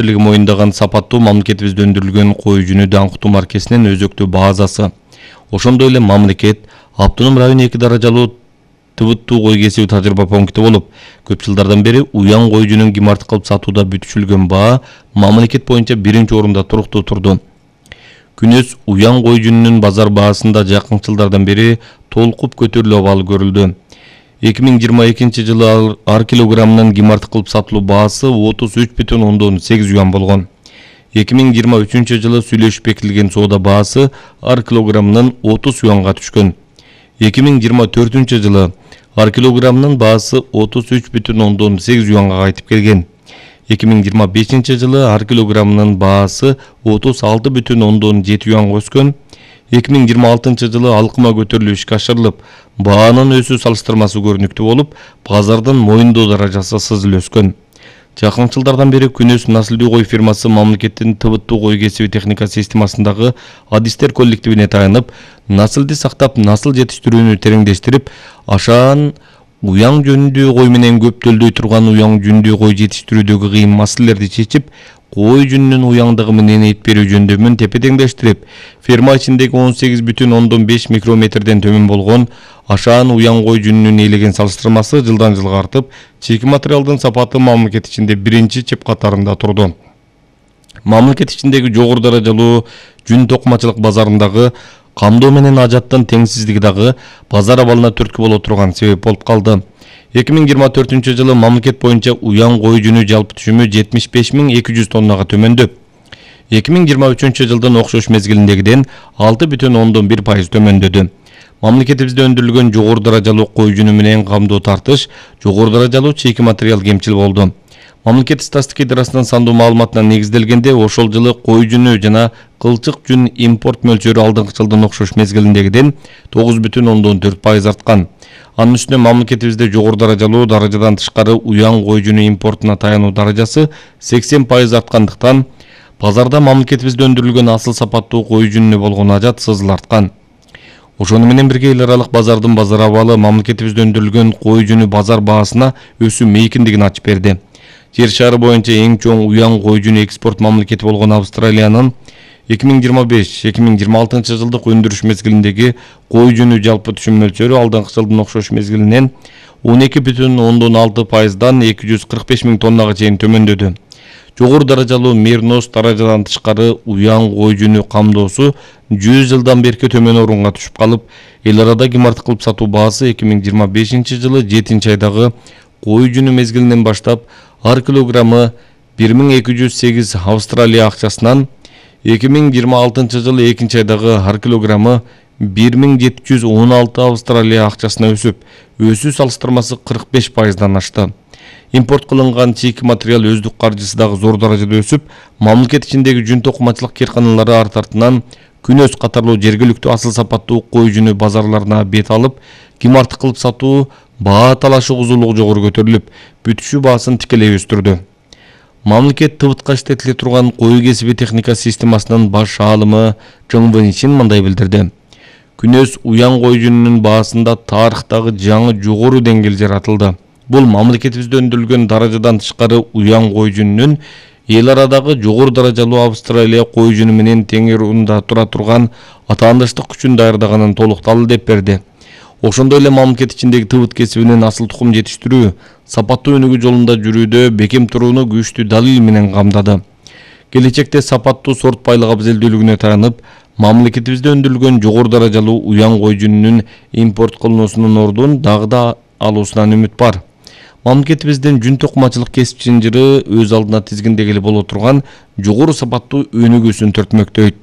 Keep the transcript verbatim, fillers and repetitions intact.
Моюндаган сапаттуу мамлекетибизде өндүрүлгөн кой жүнү даңктуу маркесинин өзөктүү базасы. Ошондой эле мамлекет автоном район эки даражалуу тыбыттуу кой кесиби тажрыйба пункти болуп, көп жылдардан бери уян кой жүнүн импорт кылып сатууда бүтүшүлгөн баа мамлекет боюнча биринчи орунда туруктуу турду. Күнөс уян кой жүнүнүн базар баасында жакын жылдардан бери толкуп көтөрүлүү абалы көрүлдү. эки миң жыйырма экинчи жылы ар килограммынын импорт кылып сатылуу баасы отуз үч бүтүн ондон сегиз юан болгон. эки миң жыйырма үчүнчү жылы сүйлөшүп бекитилген соода баасы ар килограммынын отуз юанга түшкөн. эки миң жыйырма төртүнчү жылы ар килограммынын баасы отуз үч бүтүн ондон сегиз юанга кайтып келген. эки миң жыйырма бешинчи жылы ар килограммынын баасы отуз алты бүтүн ондон жети юанга өскөн. эки миң жыйырма алтынчы жылы алкыма көтөрүлүү ишке ашырылып, баанын өсүү салыштырмасы көрүнүктүү болуп, базардын моюндоо даражасы сызыл өскөн. Жакын жылдардан бери Күнөс насылдуу кой фирмасы мамлекеттин тыбыттуу кой кесиби техника системасындагы адистер коллективине таянып, насылды сактап, насыл жетиштирүүнү тереңдештирип, ашаан уяң жөнүндүү кой менен көптөлдөй турган уяң жүндүү кой жетиштирүүдөгү кыйын маселелерди чечип, кой жүнүнүн уяңдыгы менен эт берүү жөндөмүн тепе-теңдештирип, ферма ичиндеги он сегиз бүтүн ондон беш микрометрден төмөн болгон ашаан уяң кой жүнүнүн ээлеген салыштырмасы жылдан жылга артып, чийки материалдын сапаты мамлекет ичинде биринчи чеп катарында турду. Мамлекет ичиндеги жогору даражалуу жүн токумачылык базарындагы камдоо менен ажаттын теңсиздиги дагы базар абалына түрткү боло турган себеп болуп калды. эки миң жыйырма төртүнчү жылы мамлекет боюнча уян кой жүнү жалпы түшүмү жетимиш беш миң эки жүз тоннага төмөндөп, эки миң жыйырма үчүнчү жылдын окшош мезгилиндегиден алты бүтүн ондон бир пайыз төмөндөдү. Мамлекетибизде өндүрүлгөн жогору даражалуу кой жүнү менен камдоо тартыш, жогору даражалуу чийки материал кемчил болду. Мамлекет статистика идарасынын сандуу маалыматына негизделгенде, ошол жылы кой жүнү жана кылчык жүн импорт мөлчөрү алдыңкы жылдын окшош мезгилиндегиден тогуз бүтүн ондон төрт пайыз арткан. Анын үстүнө мамлекетибизде жогору даражалуу даражадан тышкары уян кой жүнү импортуна таянуу даражасы сексен пайыз арткандыктан, базарда мамлекетибизде өндүрүлгөн асыл сапаттуу кой жүнүнө болгон ажат сызыл арткан. Ошону менен бирге эл аралык базардын базар абалы мамлекетибизде өндүрүлгөн кой жүнү базар баасына өсүү мейкиндигин ачып берди. Жер шары боюнча эң чоң уян кой жүнү экспорт мамлекети болгон Австралиянын эки миң жыйырма беш эки миң жыйырма алтынчы жылдык өндүрүш мезгилиндеги кой жүнү жалпы түшүм мөлчөрү алдыңкы жылдын окшош мезгилинен он эки бүтүн ондон алты пайыздан эки жүз кырк беш миң тоннага чейин төмөндөдү. Жогору даражалуу мернос даражадан тышкары уян кой жүнү камдоосу жүз жылдан берки төмөн орунга түшүп калып, эл арада импорт кылып сатуу баасы эки миң жыйырма бешинчи жылы жетинчи айдагы кой жүнү мезгилинен баштап ар килограммы бир миң эки жүз сегиз Австралия акчасынан эки миң жыйырма алтынчы жылы экинчи айдагы ар килограммы бир миң жети жүз он алты Австралия акчасына өсүп, өсүү салыштырмасы кырк беш пайыздан ашты. Импорт кылынган чийки материал өздүк каржысы дагы зор даражада өсүп, мамлекет ичиндеги жүн токумачылык кээрканалары арт артынан Күнөс катарлуу жергиликтүү асыл сапаттуу кой жүнү базарларына бет алып, импорт кылып сатуу баа талашы кузулугу жогору көтөрүлүп, бүтүшүү баасын тикелей өстүрдү. Мамлекет тыбытка иштетиле турган кой кесиби техника системасынын баш аалымы Чоң Вэньшин мындай билдирди. Күнөс уян кой жүнүнүн баасында тарыхтагы жаңы жогору деңгээл жаратылды. Бул мамлекетибизде өндүрүлгөн даражадан тышкары уян кой жүнүнүн эл арадагы жогору даражалуу Австралия кой жүнү менен тең орунда тура турган атаандыштык күчүн даярдаганын толук далил деп берди. Ошондой эле мамлекет ичиндеги тыбыт кесибинин асыл тукум жетиштирүү, сапаттуу өнүгүү жолунда жүрүүдө бекем турууну күчтүү далил менен камдады. Келечекте сапаттуу сорт байлык абзелдүүлүгүнө таянып, мамлекетибизде өндүрүлгөн жогору даражалуу уян кой жүнүнүн импорт кылынуусунун ордун дагы да алуусунан үмүт бар. Мамлекетибиздин жүн токумачылык кесип чынжыры өз алдына тизгиндегиле боло турган жогору сапаттуу өнүгүүсүн төртмөктөйт.